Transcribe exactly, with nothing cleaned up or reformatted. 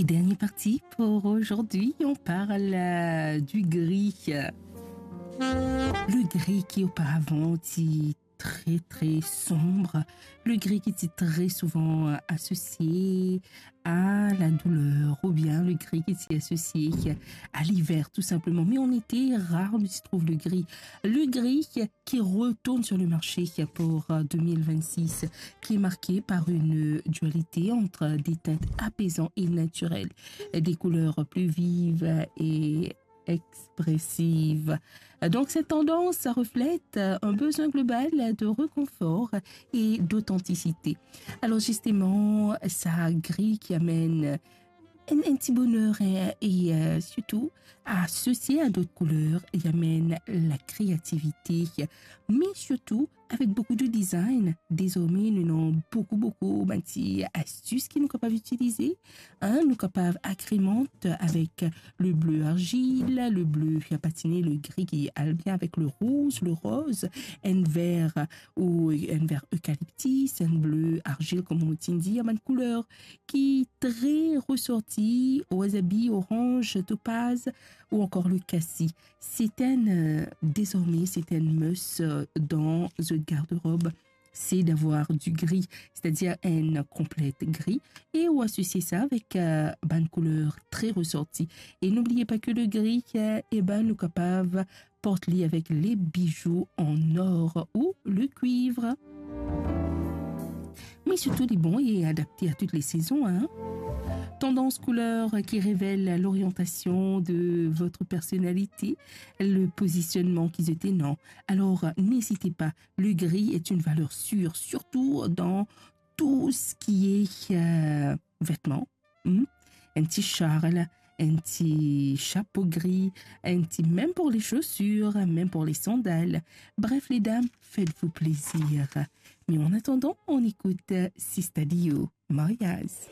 Et dernière partie pour aujourd'hui, on parle, euh, du gris. Le gris qui auparavant était très, très sombre, le gris qui était très souvent, euh, associé à la douleur, ou bien le gris qui était associé à l'hiver, tout simplement. Mais on était rare de s'y trouver le gris. Le gris qui retourne sur le marché pour, euh, deux mille vingt-six, qui est marqué par une dualité entre des teintes apaisantes et naturelles, des couleurs plus vives et expressives. Donc, cette tendance reflète un besoin global de réconfort et d'authenticité. Alors, justement, sa gri ki amenn enn, enn ti boner, hein, e, euh, sirtou, asosye a dot kouler, li amenn lakreativite, me sirtou, avek boukou de design, dezorme, nou ena boukou, boukou bann ti astis ki nou kapav itilize, hein, nou kapav agremente avek le ble arzil, le ble patine, le gri ki al bien avek le rouz, le roz, enn ver ou enn ver ekaliptis, enn ble arzil, kouma mo ti dir, bann kouler ki tre resorti, wasabi, oranz, topaz ou ankor le kasi. Se enn, euh, dezorme, se enn must, euh, dan zot garderob, c'est d'avoir du gris, c'est-à-dire enn konplet gri, e ou asosye sa avek, euh, bann kouler tre resorti. E n'oubliez pas que le gris, euh, e ben, nou kapav port li avek le bizou an or ou le kuiv. Me sirtou, li bon e adapte a tout le sezon, hein. Tendance couleur qui révèle l'orientation de votre personnalité, le positionnement ki zot ena. Alors, n'hésitez pas, le gris est une valeur sûre, surtout dans tout ce qui est, euh, vêtements. Hmm? Enn ti sharl, enn ti sapo gri, enn ti, même pour les chaussures, même pour les sandales. Bref, les dames, faites-vous plaisir. Mais en attendant, on écoute Sista Dio, Mariaz.